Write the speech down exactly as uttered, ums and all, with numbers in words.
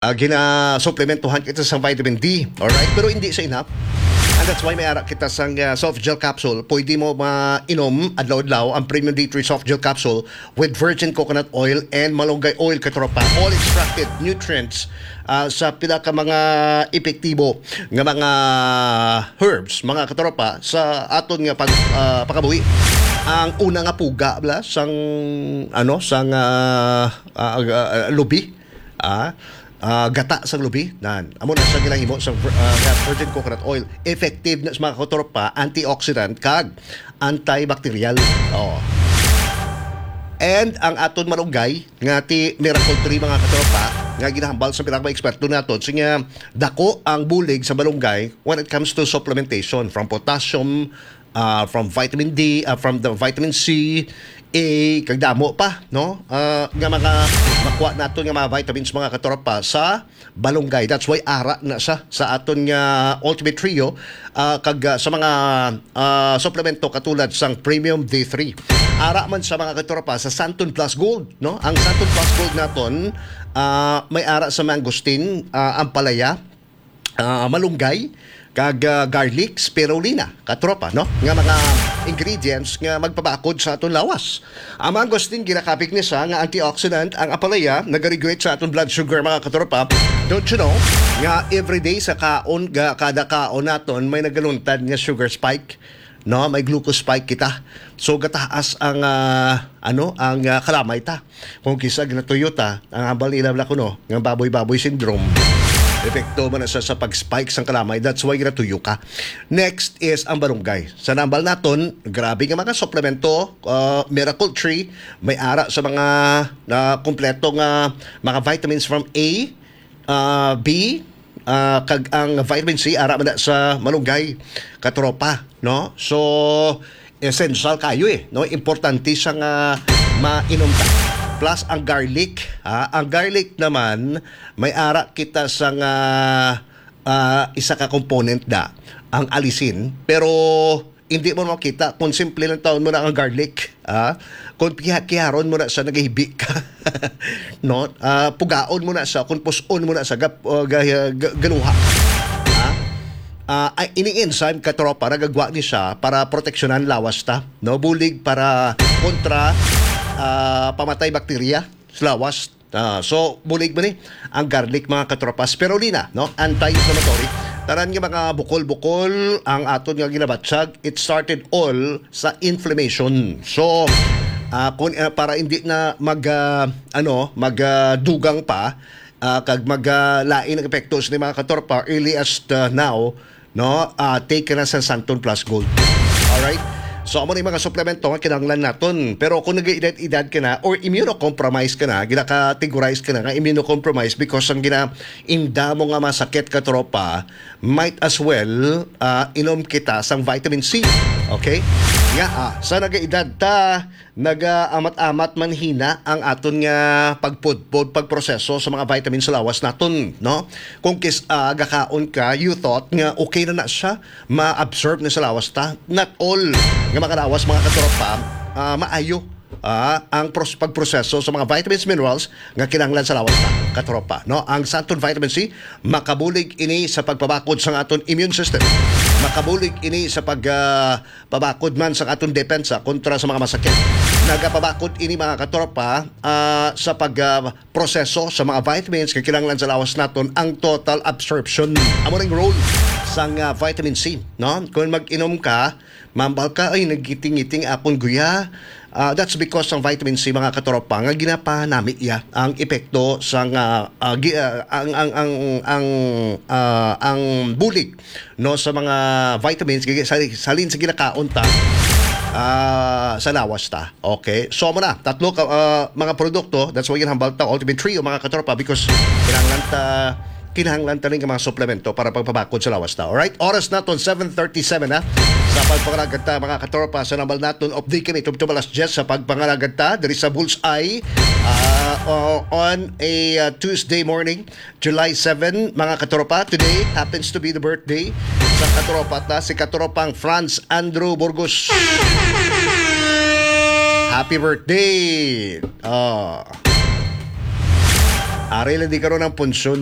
ah, ginasuplementuhan kita sa vitamin D. Alright? Pero hindi sa enough. And that's why may ara kita sang, ah, soft gel capsule. Pwede mo mainom adlaw-adlaw ang Premium D three soft gel capsule with virgin coconut oil and malunggay oil, katropa. All extracted nutrients, ah, sa pila ka mga epektibo nga mga herbs, mga katropa, sa aton nga pag, ah, pagkabuhi. Ang una nga puga, bala, sang, ano, sang, ah, ah, ah, lubi, ah, ah, gata sang lubi, nan. Amo na sa ginahimo sa vir-, ah, nga virgin coconut oil. Effective na sa, mga katropa, antioxidant kag antibacterial. Oh. And ang aton malunggay nga ti Miracle Tree, mga katropa, nga ginahambal sa pinaka eksperto naton, siya nga dako ang bulig sa malunggay when it comes to supplementation, from potassium, ah, from vitamin D, ah, from the vitamin C, A, kag damo pa, no? Ah, nga mga makuha naton nga mga vitamins, mga katropa, sa balunggay. That's why ara na sa, sa aton nga Ultimate Trio, ah, kag, ah, sa mga, ah, suplemento katulad sang Premium D three. Ara man sa, mga katropa, sa Santon Plus Gold, no? Ang Santon Plus Gold naton, ah, may ara sa mangosteen, ah, ampalaya, ah, malunggay, kag, ah, garlic, spirulina, katropa, no? Nga mga ingredients nga magpabakod sa aton lawas. Ang mangosteen, ginakapig ni siya nga antioxidant. Ang ampalaya nagaregulate sa aton blood sugar, mga katropa. Don't you know nga everyday sa kaon, ga-, kada kaon naton may nagaluntad nga sugar spike, no? May glucose spike kita. So gataas ang, ah, ano, ang, ah, kalamay ta. Kung kisa ginatuyo ta, ang hambal nila, wala kuno, nga baboy-baboy syndrome. Epekto man na sa, sa pag-spike sang kalamay. That's why ginatuyo ka. Next is ang balunggay. Sa nambal naton, grabe nga mga suplemento, ah, Miracle Tree, may ara sa mga, ah, kompleto nga mga vitamins from A, ah, B, ah, kag ang vitamin C, ara man na sa malunggay, katropa, no? So, essential kayo eh, no? Importante siya nga mainom ta. Plus ang garlic, ha? Ang garlic naman, may ara kita sa nga, ah, isa ka component na, ang allicin. Pero hindi mo makita kung simple lang taon mo na ang garlic, ah. Kung kiha-, kiharon mo na sa nagahibi ka, no? Ah, pugaon mo na sa, kung puson mo na sa gap-, uh, ga-, ga-, galuha. Ha? Ah, ay, ini enzyme, katropa, nagagwa ni siya para proteksyonan lawas ta, no? Bulig para kontra, ah, pamatay bakterya sa lawas. Ah, so, bulig man ni ang garlic, mga katropa. Spirulina, no? Anti-inflammatory. Tanan nga mga bukol-bukol ang aton nga ginabatyag, it started all sa inflammation. So, ah, kung, ah, para hindi na mag, ah, ano, mag, ah, dugang pa, ah, kag mag, ah, lain ang epekto sa mga katropa, early as, ah, now, no? Ah, take ka na sa Santon Plus Gold. Alright? So, amo ni mga suplemento nga kinahanglan naton. Pero kung nag-edad-edad ka na or immunocompromised ka na, gina-categorize ka na nga immunocompromised because ang gina-, inda mo nga masakit, katropa, might as well, ah, inom kita sang vitamin C. Okay? Nga, ah, sa nag-edad ta, nagaamat-amat man hina ang aton nga pagpudpod, pagproseso sa mga vitamins sa lawas naton, no? Kung kis-, ah, gakaon ka, you thought nga okay na na siya, ma-absorb na sa lawas ta. Not all nga mga lawas, mga katropa, ah, maayo, ah, ang pros-, pagproseso sa mga vitamins, minerals nga kinahanglan sa lawas ta, katropa, no? Ang Santon Vitamin C, makabulig ini sa pagpabakod sa aton immune system. Makabulig ini sa pag, ah, pabakod man sa aton depensa kontra sa mga masakit. Nagapabakod ini, mga katropa, ah, sa pag, ah, proseso sa mga vitamins nga kinahanglan sa lawas naton, ang total absorption. Amo ning role sang, ah, vitamin C, no? Kung mag-inom ka, mambal ka, "Ay, naggiting-giting akon guya." Ah, that's because ang vitamin C, mga katropa, nga ginapanami iya ang epekto sang, ah, ah, gi-, ah, ang, ang, ang, ang, ah, ang bulig, no, sa mga vitamins, gigi-, sa, salin sa ginakaon ta, ah, sa lawas ta. Okay? So, amo na, tatlo ka, ah, mga produkto, that's why ginhambal ta, Ultimate Trio, mga katropa, because kinahanglan ta, kinahanglan ta rin nga mga suplemento para pagpabakod sa lawas ta. Alright? Oras naton, seven thirty-seven na. Sa pagpangalagad ta, mga katropa, sa nambal naton, update kami, tubtob alas diyes sa pagpangalagad ta, diri sa Bullseye, ah, o-, on a, ah, Tuesday morning. July seven, mga katropa. Today happens to be the birthday sa katropa ta, si katropang Franz Andrew Burgos. Happy birthday! Oh. Ari lang di karon ang punsyon.